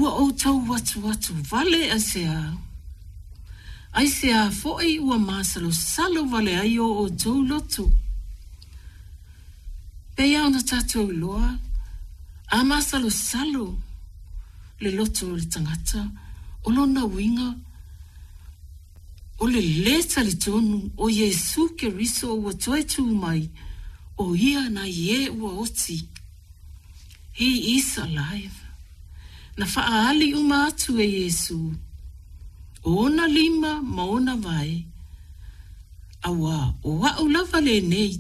Ua outou atuatu vale aisea? Aisea foi ua masalosalo vale ai o outou loto? Pei lava ona tatou iloa, a masalosalo le loto o le tagata, o lona uiga, o le lē talitonu o Iesu Keriso ua toe tū mai, o Ia nai e ua oti. He is alive. Na faaali uma atu e Iesu ona lima ma ona vae, auā o a'u lava lenei,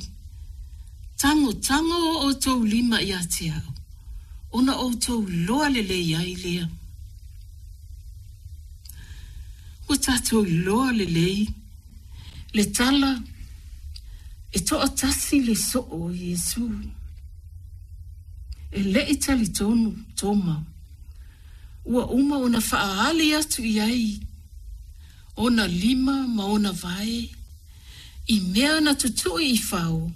tagotago o outou lima ia te a'u, ona outou iloa lelei ai lea. Ua tatou iloa lelei le tala e toatasi le soo o Iesu. E le i talitonu Toma, ua uma ona faaali atu i ai ona lima ma ona vae i mea na tutui i fao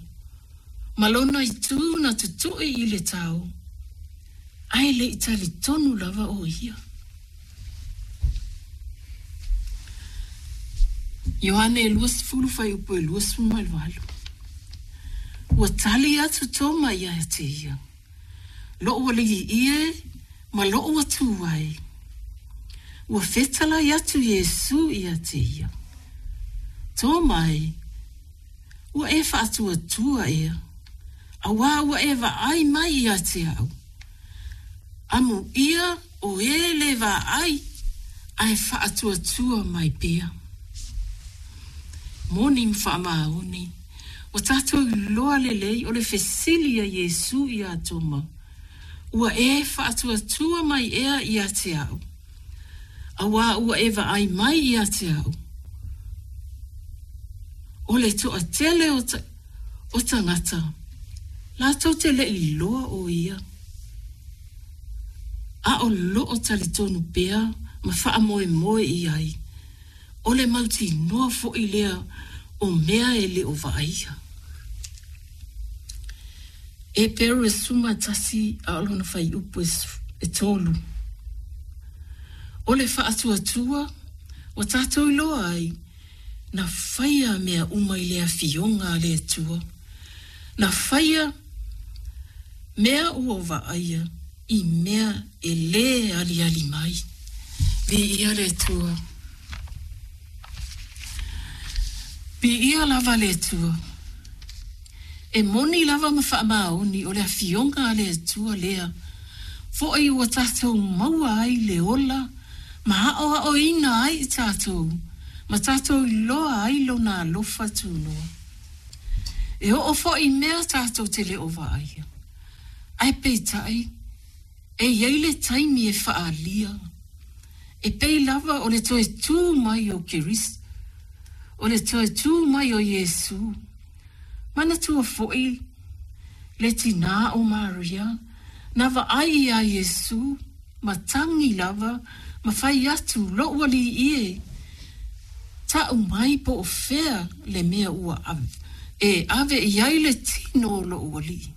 ma lona itu na tutui i le tao, ae le i talitonu lava o ia. Ioane 20 fuaiupu e 28. Ua tali atu Toma ia te ia, Lo'u alii e ma lo'u Atua e. Ua fetalai atu Iesu ia te ia, Toma e, ua e faatuatua ea, auā ua e vaai mai ia te a'u. Amuia o e lē vaai ae faatuatua mai pea. Moni ma faamaoni, ua tatou iloa lelei o le fesili a Iesu iā Toma, Ua e faatuatua mai ea ia te a'u, auā ua e vaai mai ia te a'u? O le toatele o, o tagata, latou te le i iloa o ia. A o loo talitonu pea ma faamoemoe i ai, o le mautinoa foi lea o mea e le o vaaia. Eperu e 11 a o lona fuaiupu e 3. O le faatuatua ua tatou iloa ai, na faia mea uma i le Afioga a le Atua, na faia mea ua vaaia i mea e lē aliali mai. Viia le Atua. Viia lava le Atua. E moni lava ma faamaoni o le Afioga a le Atua lea foi ua tatou maua ai le ola ma aoaoina ai i tatou ma tatou iloa ai Lona alofa tunoa. E oo foi i mea tatou te le o vaaia. Ae peitai, e i ai le taimi e faaalia, e pei lava o le toe tū mai o Keriso, o le toe tū mai o Iesu. Manatua foi le tinā o Maria, na vaai iā Iesu, ma tagi lava ma fai atu, Lo'u Alii e, ta'u mai po o fea le mea ua e ave i ai le tino o lo'u Alii.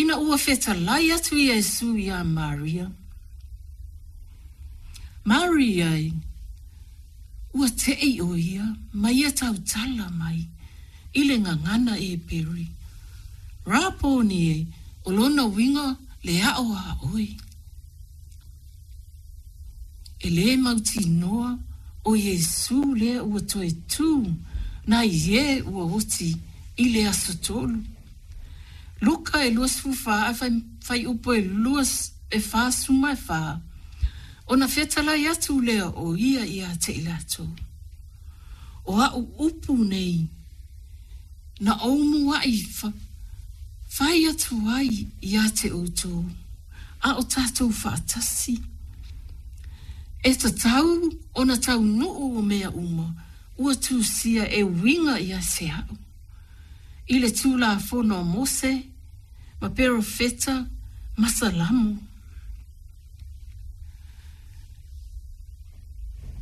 Ina ua fetalai atu Iesu iā Maria, Maria e, ua te'i o ia ma ia tautala mai i le gagana Eberi, Raponi e, o lona uiga le a'o a oe. E lē mautinoa o Iesu lea ua toe tū nai e ua oti i le aso tolu. Luka e 24 ae fuaiupu e 44, ona fetalai atu lea o ia ia te i latou, O a'u upu nei, na ou muaʻi fai atu ai ia te outou, a o tatou faatasi. E tatau ona taunuu o mea uma ua tusia e uiga ia te a'u, i le Tulafono a Mose ma Perofeta ma Salamo.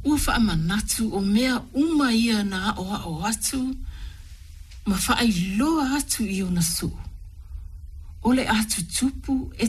Ua faamanatu o mea uma ia na aʻoaʻo atu ma faailoa atu i ona soo, o le a tutupu e.